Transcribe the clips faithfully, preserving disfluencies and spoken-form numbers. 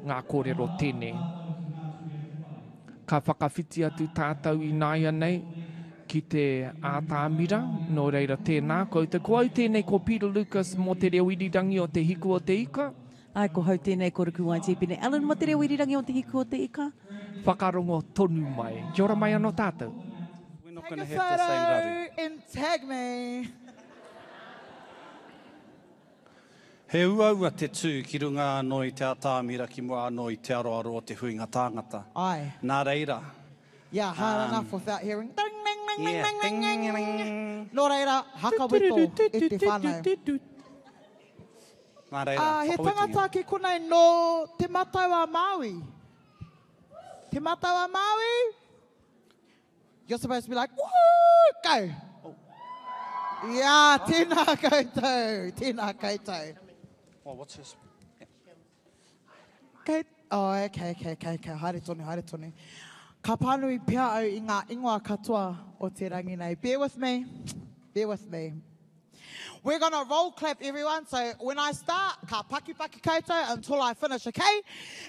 ngā kōrero tēnei. Ka whakawhiti atu tātou ināianei ki te ātamira, nō reira tēnā koutou. Ko au tēnei ko Peter Lucas mō te reo irirangi o Te Hiku o Te Ika. Ai, ko hau tēnei ko Ruku Waitipene Allen mō te reo irirangi o Te Hiku o Te Ika. Whakarongo tonu mai. Kia ora mai anō tātou. We're not gonna Take a have the same photo raru. and tag me. He uaua te tū ki runga anō i te atāmira ki mua anō i te aroaro o te huinga tāngata. Ai. Nā reira. Yeah, hard Um, enough without hearing ding, ding, ding, Yeah, ding, ding, ding, ding, ding. ding. Nō reira, hakaweto e te whānau. Nā reira, Ah, he whakawetongia. tangata ki konei nō Te Matau a Māui. Te Matau a Māui? You're supposed to be like, woohoo, go. Yeah, tēnā koutou, tēnā koutou. Oh, what's this? Kei, oh, okay, okay, okay, okay, haere tonu, haere tonu. Ka pānui pea au i ngā ingoa katoa o te rangi nei. Bear with me, bear with me. We're gonna roll clap everyone, so when I start, ka paki paki koutou until I finish, okay?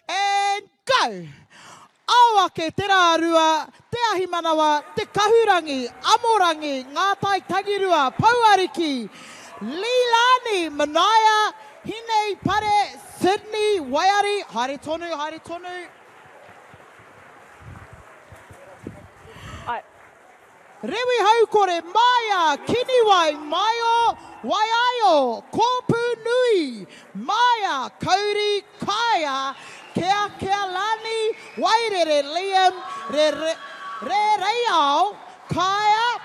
And go! Ao ake te rārua, te ahi manawa, te kahurangi, amorangi, ngā tai tangirua, pouariki, Leilani, Manaia, Hinei Pare, Sydney, Waiari, haere tonu, haere tonu. Ai. Rewi Haukore, Maia, Kiniwai, Maio, Waiaio, Kōpū Nui, Maia, Kauri, Kaia, Kea Kealani, Wairere, Liam, Re, Re, Re Reiao, Kaia,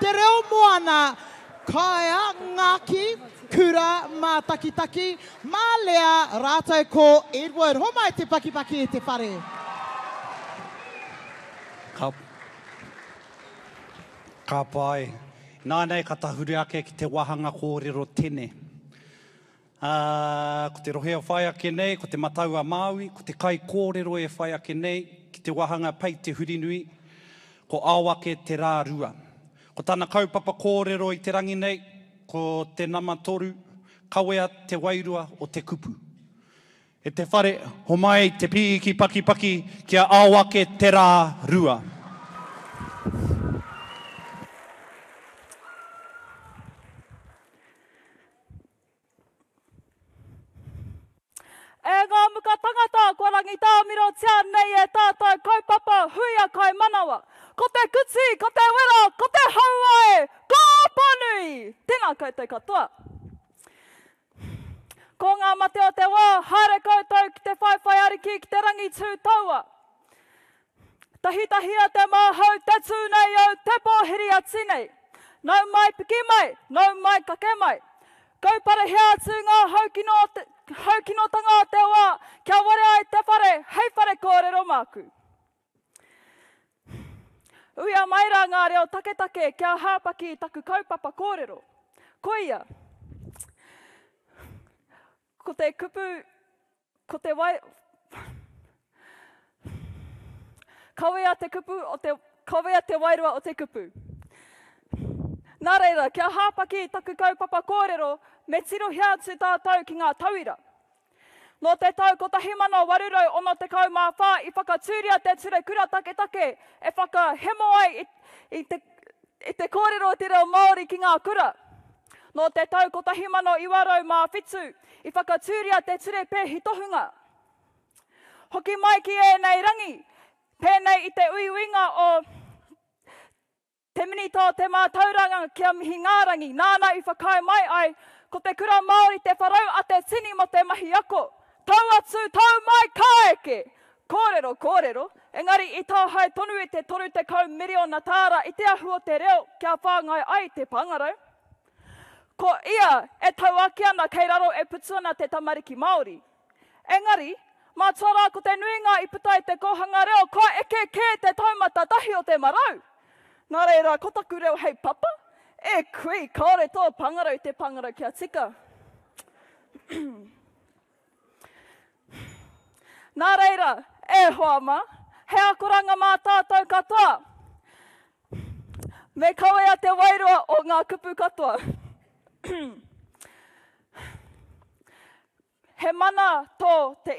Te Reo Moana, Kaia, Ngaki, Kura, Mātakitaki, Mālea, rātou ko Edward. Homai te pakipaki e te whare. Ka, ka pai. Nā nei ka tahuri ake ki te wāhanga kōrero tene. Uh, ko te rohe o whai ake nei, ko te Matau a Māui, ko te kai kōrero e whai ake nei, ki te wāhanga pei te hurinui, ko ao ake te rā rua. Ko tana kaupapa kōrero i te rangi nei, ko te nama toru, kawea te wairua o te kupu. E te whare, homai te pīki pakipaki, kia ao ake te rā rua. E ngā muka tangata, kua rangitāmirotia nei e tātou kaupapa huia kai manawa. Ko te kuti, ko te wera, ko te haua e, ko Apanui! Tēnā koutou katoa. Ko ngā mate o te wā, haere koutou ki te whaiwhai ariki ki te rangi tū taua. Tahitahia te māhau, te tū nei au, te pōhiri a tinei. Nau mai piki mai, nau mai kake mai. Kauparehia atu ngā haukino o te, haukinotanga o te wā, kia ware ai te whare, hei whare kōrero māku. Uia mai rā ngā reo taketake kia hāpaki i taku kaupapa kōrero. Koia, ko te kupu, ko te wai... Kawea te kupu o te, kawea te wairua o te kupu. Nā reira, kia hāpaki i taku kaupapa kōrero, me tirohia atu tātou ki ngā tauira. Nō te tau kotahi mano waru rau ono tekau mā whā i whakatūria te ture kura taketake e whakahemo ai i, i, te, i te kōrero o te reo Māori ki ngā kura. Nō te tau kotahi mano iwa rau mā whitu i whakatūria te ture pēhi tohunga. Hoki mai ki ēnei rangi, pēnei i te uiuinga o te minita o te mātauranga kia mihi ngārangi, nāna i whakaae mai ai, ko te kura Māori te wharau a te tini mō te mahi ako. Tau atu, tau mai, ka eke! Kōrero, kōrero, engari i tāhae tonu i te toru tekau miriona tāra i te ahu o te reo kia whāngai ai te pāngarau. Ko ia e tauāki ana kei raro e putu ana te tamariki Māori. Engari, mātua rā ko te nuinga i puta i te kōhanga reo, kua eke kē te taumata tahi o te marau. Nā reira, ko taku reo hei papa? E kui, kāore tō pāngarau te pāngarau kia tika. Nā reira, e hoa mā, he akoranga mā tātou katoa. Me kawea te wairua o ngā kupu katoa. He mana tō te